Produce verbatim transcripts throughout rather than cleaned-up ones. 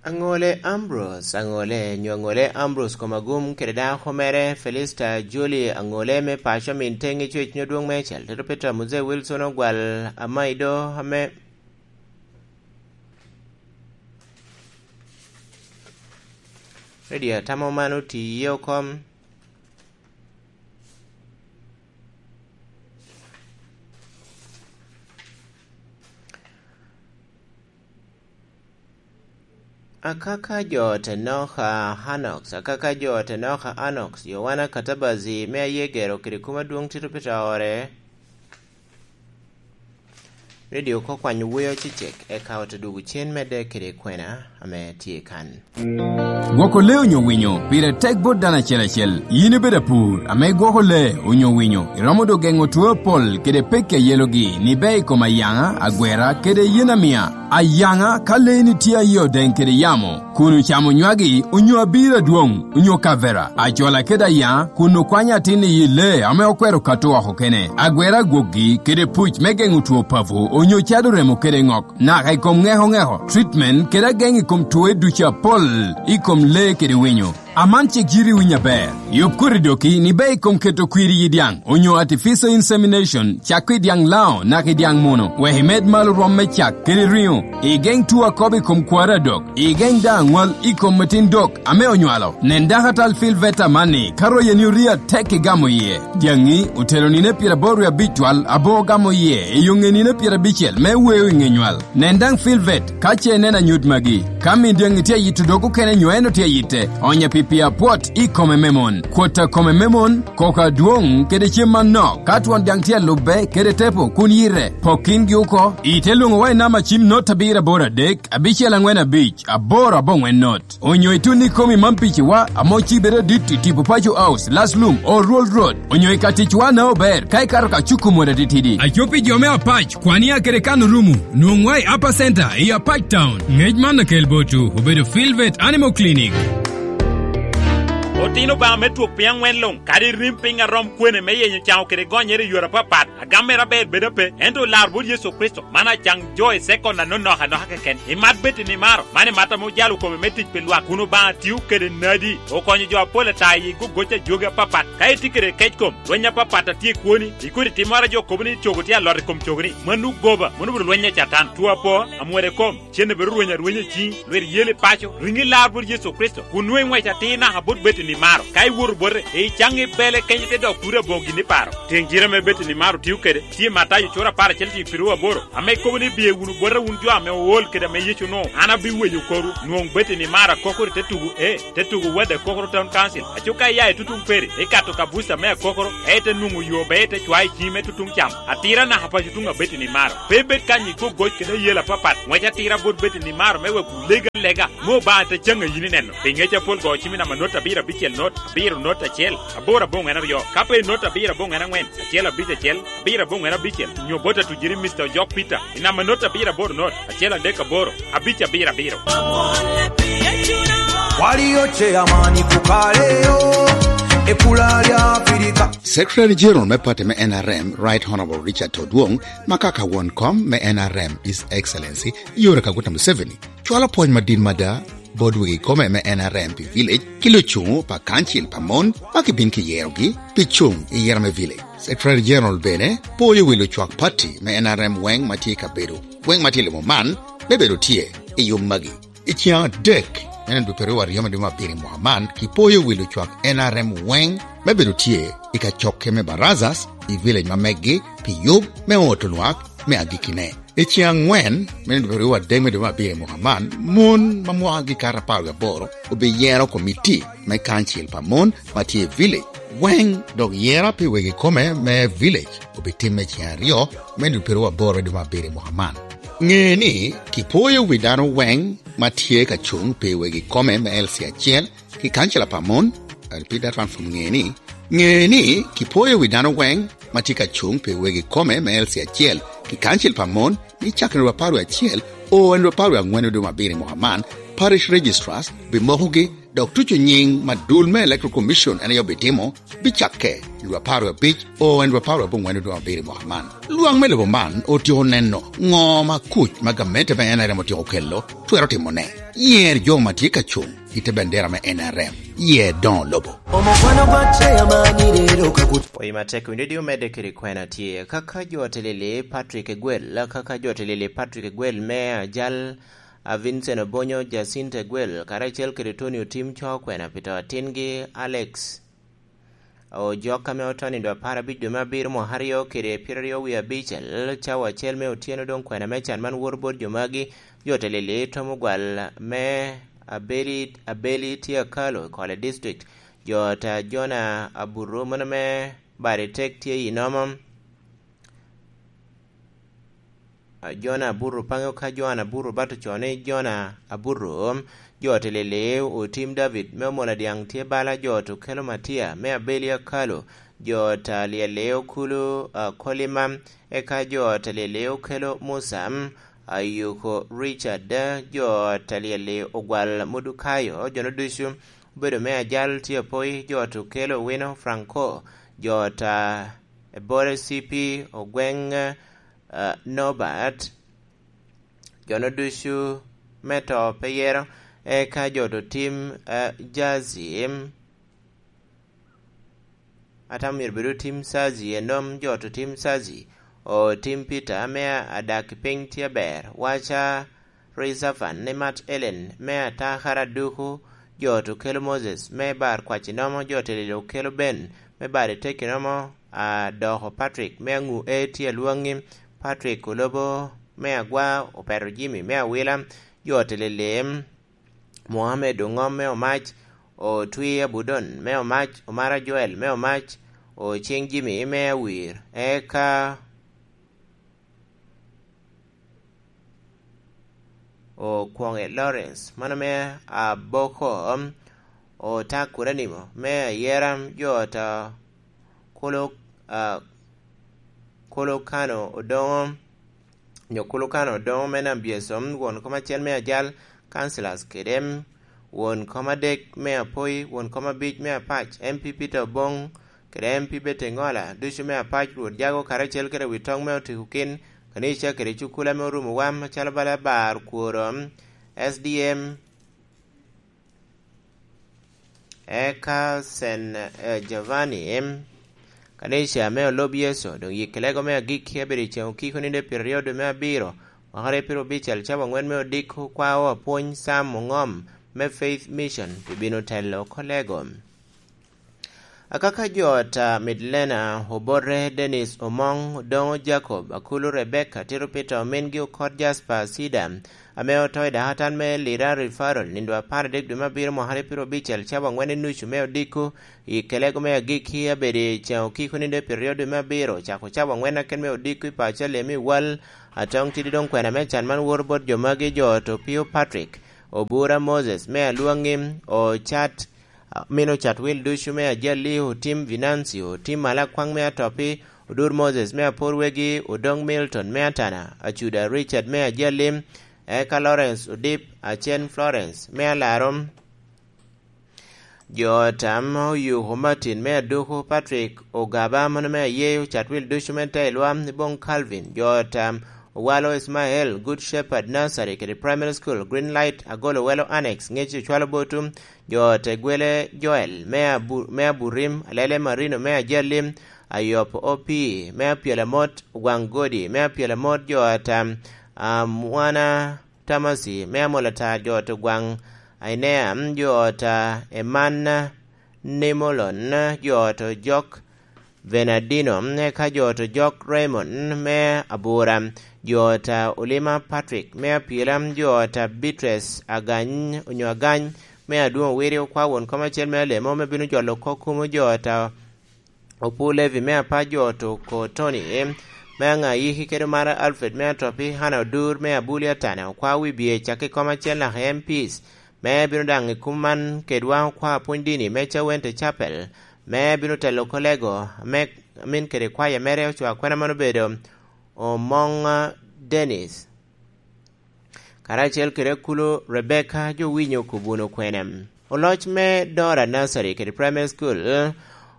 Aŋole Ambrose Aŋole, nyo Aŋole Ambrose Komagum kede dako mere Felista Joli Aŋole me paco Minteŋ i Cwec nyo Dwoŋ Meicel, Tito Peter Muzee Wilson Ogwal Amaido ame redio atamo man oti iye okom. Akaka jo te Noka Anox, akaka jo te Noka Anox, Yowana Katabazi me aye gero kede kum adwoŋ Tito Peter ore. Redio oko kwanyo weo cecek, eka ote dwogo cen medde kede kwena ame tye kan. Gwoko lee onyo winyo pire tek bot dano acel acel. Yin ibedo apur ame igwoko lee onyo winyo, iromo dok geŋo two apol kede pekki a yelogi ni bea i kom ayaŋa, agwera, kede yen amia. Ayaŋa, ka leeni tye a yie odeŋ kede yamo, kun ocamo nywagi, onyo abiro adwoŋ, onyo kavera, ajola kede ayaŋa, kun okwanyo atin i yi lee ame okwero kato oko kene, agwera agwokgi, kede puc me geŋo two papo, onyo cado remo kede ŋok, naka i kom ŋeko ŋeko, treatment, kede ageŋ i kom twoe ducu apol i kom lee kede winyo. Aman cik yiti winyo aber. Yub koti doki ni bea i kom keto kwir i yi dyaŋ, onyo artificial insemination, cak i dyaŋ lao, naka i dyaŋ muno, wek imed malo rwom me cak kede riŋo, igeŋ two akobo i kom kwaro adok, igeŋ daŋ aŋwal i kom metin dok ame onywalo. Nen dakatal Phil Veta amanni, ka royeni orie atek igamo iye. Dyaŋi otero nino pyeraboro wie abic twal abo ogamo iye, i yo ŋe nino pyerabicel me weo i ŋe nywal. Nen daŋ Phil Vet, ka ce ineno anyut magi. Ka min dyaŋi tye ayito dog okene nyo en otye ayitte, onye pi pii apwot i kome me mon. Kwot a kome me mon, koko adwoŋ, kede cem manok, ka twon dyaŋ tye alubbe, kede tepo, kun yite, pok kingi oko. Ite lwoŋowa i namba cim not abiro aboro adek, abicel aŋwen abic, aboro aboŋwen not. Onyo itun ikomi man piciwa, ame ocibe adit i tipo Paco House, Laslum, Oruol Road. Onyo i ka ticwa na ober, ka ikato ka cuku mot atitidi. Aco pi jo me Apac, Kwania kede Kano Rumu, nwoŋwa i Upper Center, i Apac Town. Ngec man akel botwu, obedo Filvet Animal Clinic. Otino Obaŋa me twok piny aŋwen luŋ, kadi rim piny a rom kwene me yenyo caŋo kede gonyere i yore apapat, agam mere aber bedo ape, ento lar bot Yecu Kricito, man acaŋ jo i sekon anonok anoka keken. Imat bed i nimaro, man imat ame ojalo kome me tic pi lwak, kun Obaŋa tio kede nadi, okonyo jo apol ata i gogoc a jogi apapat. Ka itye kede kec kom, lweny apapat a tye i kwoni, ikodi timmoro a jo kobo ni cogo tye alot i kom cogoni, mano goba, mano obedo lweny a Catan. Two apo, amwere kom, cen bedo rweny arwenya i ciŋi, lwit yel i paco, riŋi lar bot Yecu Kricito, kun nwoŋo iŋwec atir naka bot bed i nimaro. Ka iwoto bote, icaŋ i bele kenyo ite dok kuri aboŋo gin iparo. Tiŋ cite ame bed i nimaro tio kede, tye Matayo cura apar acel cik pirwu aboro, ame kobo ni, "Biye wunu bota wun jo ame ool kede ame Yecu onwoŋo, an abiweyo korwu." Nwoŋo bed i nimaro akokoro i te tugo, ee, te tugo Wad Akokoro Town Council. Aco ka iya i tutuŋ Peri, ikato ka buca me Akokoro, ka ite nwoŋo yo, be ite cwayo i ciŋi me tutuŋ cam. Atira naka paco tuŋ abed i nimaro. Pe ibed kany i gogoc kede ayel apapat. Ŋwec atira bot bed i nimaro me wek wuleg alega, me Obaŋa te caŋ a yin ineno. Pi ŋec apol go cim i namba not abiro abicel not, abiro not acel, aboro aboŋwen aryo. Ka pe i not abiro aboŋwen aŋwen, acel abic acel, abiro aboŋwen abicel, nyo bot atujiri Mister Ojok Peter, i namba not abiro aboro not, acel adek aboro, abic abiro abiro. Walio chairman kukaleo, e pula lya Afrika. Secretary General me party me N R M, Right Honorable Richard Todwong, ma kaka won kom me N R M, His Excellency Yoweri Kaguta Museveni, cwalo pwony madit mada bot wegi kome me N R M pi village, ki lucuŋo pa kancil pa mon ma kibin kiyerogi pi cuŋ i yera me village. Secretary General bene poyo wi lucwak party me N R M weŋ ma tye i kabedo weŋ ma tye i limo man me bedo tye i yub magi. I ciaŋ adek, me nino dwe pyeraryo aryo me dwe me abiro i mwaka man, kipoyo wi lucwak N R M weŋ me bedo tye i kacokke me Barazas i village ma meggi pi yub me oto lwak me agikkine. I ciaŋ aŋwen, me nino dwe pyeraryo adek me dwe me abiro i mwaka man, mon ma mwakgi kato apar wie aboro obiyero komiti me kancil pa mon ma tye i village weŋ, dok yera pi wegi kome me village obitimme i ciaŋ aryo me nino dwe pyeraryo aboro me dwe me abiro i mwaka man. Ŋe ni, kipoyo wi dano weŋ ma tye ka cuŋ pi wegi kome me L C acel ki kancila pa mon. I repeat that one from ŋe ni, ŋe ni, kipoyo wi dano weŋ ma tye ka cuŋ pi wegi kome me L C acel ki kancil pa mon, ni cakere dwe apar wie acel o en dwe apar wie aŋwen dwe me abiro i mwaka man, parish registrars bimokogi Dok tuco nyiŋ ma dul me Electoral Commission en aye obitimo, bicakke i dwe apar wie abic o en dwe apar wie abongwen i dwe abiro i mwaka man. Lwak me lobo man otyeko neno ŋo ma kuc ma gamente me N R M otyeko kelo twero timone. Yer jo ma tye ka cuŋ i te bendera me N R M. Yer doŋo lobo. Oyi matek winyo di omedde kede kwena tye. Kaka jo telili Patrick Egwel, kaka jo telili Patrick Egwel me ajal, a Vincent Obonyo, Jacinta Egwel, karacel kede Tony Otim co kwena pi to atingi Alex Ojok ame oto nindo apar abic dwe me abiro mwaka aryo kede pyeraryo wie abicel, cawa acel me otyeno doŋ kwena me can man woto bot jo magi, jo telili tomo gwal me Abeli, Abeli tye akalo i Kole District, jo ta Jona Aburu mono me bade tek tye i nomo. Jona Aburro paŋe ka Jona Aburro bato co ni Jona Aburro, jo telili Otim David me Omola Dyaŋ tye bala, jo to kelo Matia me Abeli Akalo, jo ta lyeli okulu, ah, Kolima, eka jo ta lyeli okelo Musa, Ayuko Richard, jo ta lyeli Ogwal Mudukayo, jono ducu obedo me ajal tye apoyi, jo to kelo Wino Franco, jo ta Ebore C P Ogweng, eh, Norbert, jono ducu me to pe yero, eka jo to tim, eh, jazi, atamo myero bedo tim sazi, enom jo to tim sazi, o tim Peter me adak i piny tye aber, waca Rizafan ni mat Elen me atakara duku, jo to kelo Moses me bar kwaci nomo, jo telilo kelo Ben me bar i teki nomo, a doko Patrick me aŋu e tye alwaŋi, Patrick Olobo me agwa, opeto Jimmy me awila, jo telili Mohamed Oŋom me Omac, Otwi Abudon me Omac, Omara Joel me Omac, Ocing Jimmy me Awir, eka Okwoŋe Lawrence, mano me Aboko, Otak Kuranimo me Ayera, jo ta Kolo, ah, Kolo Kano Odoŋo, nyo Kolo Kano Odoŋo me Nam Byesom, won kom acel me ajal, councillors kede won kom adek me Apoi, won kom abic me Apac, M P Peter Oboŋ, kede M P Betty Ŋola, ducu me Apac, Rwot Jago karacel kede wi toŋ me Otiko Kin, kanica kede cukula me Orumo Wam, acalo bala Bar Kworo, S D M, eka Sen, eh, Giovanni, kanica me Olob Yecu, doŋ yik lego me agikki abedo i ceŋ okiko nino pyeraryo dwe me abiro, mwaka aryo pyerabicel, cawa aŋwen me odiko, kwao apwony Sam Oŋom me Faith Mission pi bino telo oko lego. Akaka jo ta Midlena, Obote Dennis Omoŋ, Odoŋo Jacob, Akulu Rebecca, Tito Peter, omingi Okot Jasper Sida, ame oto i dakatan me Lira Referral, nindo apar adek dwe me abiro mwaka aryo pyerabicel, cawa aŋwen i nucu me odiko, i kelego me agikki abedo i ceŋ okiko nino pyeraryo dwe me abiro, cako cawa aŋwen aken me odiko i paco Alemi Wal, atoŋ tidi doŋ kwena me can man woto bot jo magi, jo to Pio Patrick, Obura Moses me Alwaŋi, Ocat, Amino Catwil ducu me Ajali, Otim Vinancio, Otim Malakwaŋ me Atopi, Odur Moses me Apor Wegi, Odoŋ Milton me Atana, Acuda Richard me Ajali, eka Lawrence Odip, Acen Florence me Alaro, jo tam Oyuko Martin me Aduku, Patrick Ogaba mano me Ayeyo, Catwil ducu me Tailwa, Ibong Calvin, jo tam Owalo Ismael, Good Shepherd Nursery kede Primary School, Green Light, Agolo Welo Annex, Ŋec Ocwalo Botu, jo Tegwele Joel me Abu-, me Aburim, Alele Marino me Ajali, Ayop Opii me Apyelamot, Ogwaŋ Godi me Apyelamot, jo ata Amwana Tamasi me Amolatar, jo ata Ogwaŋ Ainea, jo ata Eman Nimolon, jo ata Ojok Bernardino, eka jo ata Ojok Raymond me Abura, jo ata Olima Patrick me Apyela, jo ata Beatrice Agany, onyo Agany, me Adwoŋ Owiri, okwa won kom acel me Alemo, me bino jolo kok kumo jo ata Opu Levi me Apac, jo ata Oko Tony, me Aŋayiki kede Omara Alfred me Atopi, Hana Odur me Abuli Atana, okwa Wibye, cak i kom acel naka M Ps, me bino daŋ i kum man kedwa, okwa Apwony Dini me Cawente Chapel, me bino telo kolego, me amin kede kwaya mere, ocwa kwena man obedo Omoŋ Dennis. Karacel kede Akulu Rebecca, jo winyo kobwun okwena. Oloc me Dora Nursery kede Primary School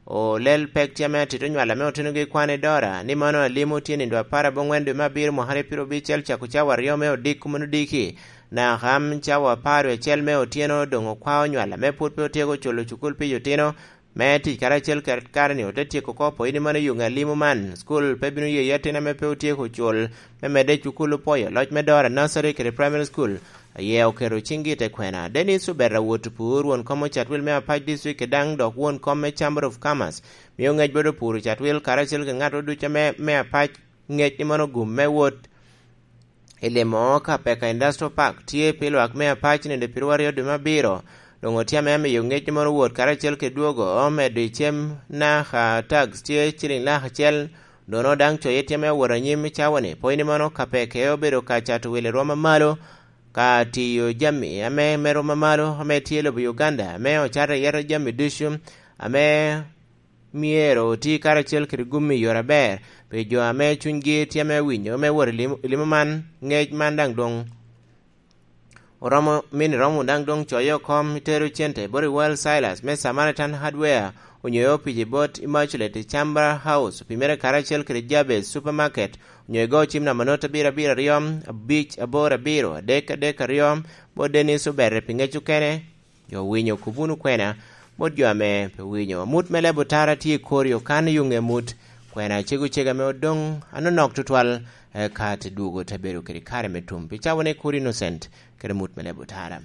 olel pek tye ame atito nywal ame otenogi kwan i Dora ni mano alimo tye nindo apar aboŋwen dwe me abiro mwaka aryo pyero abicel cako cawa aryo me odiko meno odiki naka cawa apar wie acel me otyeno doŋ okwao nywal ame pwod pe otyeko culo cukul pi otino me tic karacel kede kare-ni ote tyeko oko pwod ni mano yuŋ alimo man. School pe bino yeyo atin ame pe otyeko cul me medde i cukul opwoyo loc me Dora Nursery kede Primary School aye oketo ciŋgi i te kwena. Dennis Obed Awot Opur, won kom Ocatwil me Apac District, daŋ dok won kom me Chamber of Commerce, mio ŋec bot Opur Ocatwil karacel kede ŋat ducu ame me Apac ŋec ni mono gum me wot i limo ka peka Industrial Park tye pi lwak me Apac nino pyeraryo dwe me abiro. Doŋ otye ame miyo ŋec ni mono wot karacel kede dwogo medo i cem naka tax tye ciliŋ lak acel, dono daŋ coye tye ame owot anyim i cawa-ni. Pwony ni mono ka peke obedo ka cato wil i rwom amalo, ka tiyo jami ame me rwom amalo ame tye i lobo Uganda, ame ocato iye jami ducu ame myero oti karacel kede gum i yore aber pi jo ame cunygi tye ame winyo me wot i lim-, i limo man. Ŋec man daŋ doŋ oromo, mini romo daŋ doŋ coye oko, itero cente bot i World Silas me Samaritan Hardware, onyo i opic i bot Immaculate i Chamber House, pi mere karacel kede Jabez Supermarket, onyo igo cim namba not abiro abiro aryo, abic aboro abiro, adek adek aryo, bot Dennis Obere pi ŋec okene. Jo owinyo, kub wunu kwena bot jo ame pe winyo. Amut me leb otara tye i kori okan i yuŋ emut. Kwena cego cega ame odoŋ anonok tutwal, eka te dwogo te bedo kede kare me tum. Pi cawa ne kodi Innocent, kede amut me leb otara.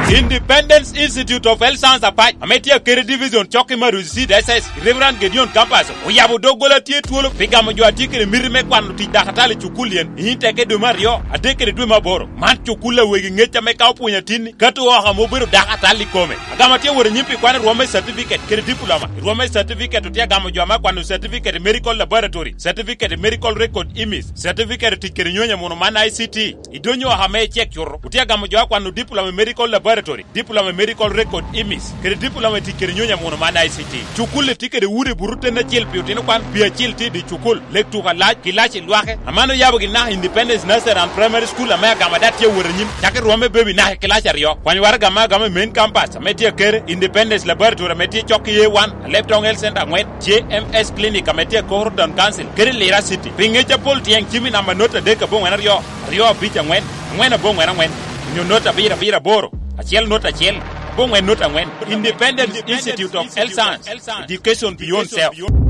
Independence Institute of Health Science Apac, ame tye akede division cok i Maruzi Seed S S, Reverend Gideon Campus, oyabo doggola tye twolo pi gamo jo a tye kede miti me kwano tic dakatali i cukul yen, i teke dwe me aryo, adek kede dwe me aboro. Man cukul a wegi ŋec ame ka opwonyo atinni, kato oko ame obedo dakatali i kome. Agamo tye wot anyim pi kwano i rwom me certificate kede diploma. I rwom me certificate otye agamo jo ame akwano certificate i medical laboratory, certificate i medical record imis, certificate i tic kede nyonyo muno man I C T. I donyo oko ame icek cuto, otye agamo jo akwano diploma i medical laboratory, diploma i medical record imis, kede diploma i tic kede nyonyo muno man I C T. Cukul-li tye kede udi buto ten acel pi otino kwan, pi acil tye i dye cukul, lek tuko alac, kilaci lwake. Aman oyabo gin naka Independence Nursery and Primary School ame agamo ada tye awot anyim, cako i rwom me baby naka i kilaci aryo. Kwany waraga ame agamo i main campus ame tye akere, Independence Laboratory ame tye cok i A one, Alebtong Health Center aŋwen, J M S Clinic ame tye akoro Town Council, kede Lira City. Pi ŋec apol tyeŋ cim i namba not adek aboŋwen aryo, aryo abic aŋwen, aŋwen aboŋwen aŋwen, onyo not abiro abiro aboro, acel not acel, aboŋwen not aŋwen. Independence Institute of Health Science, education beyond self.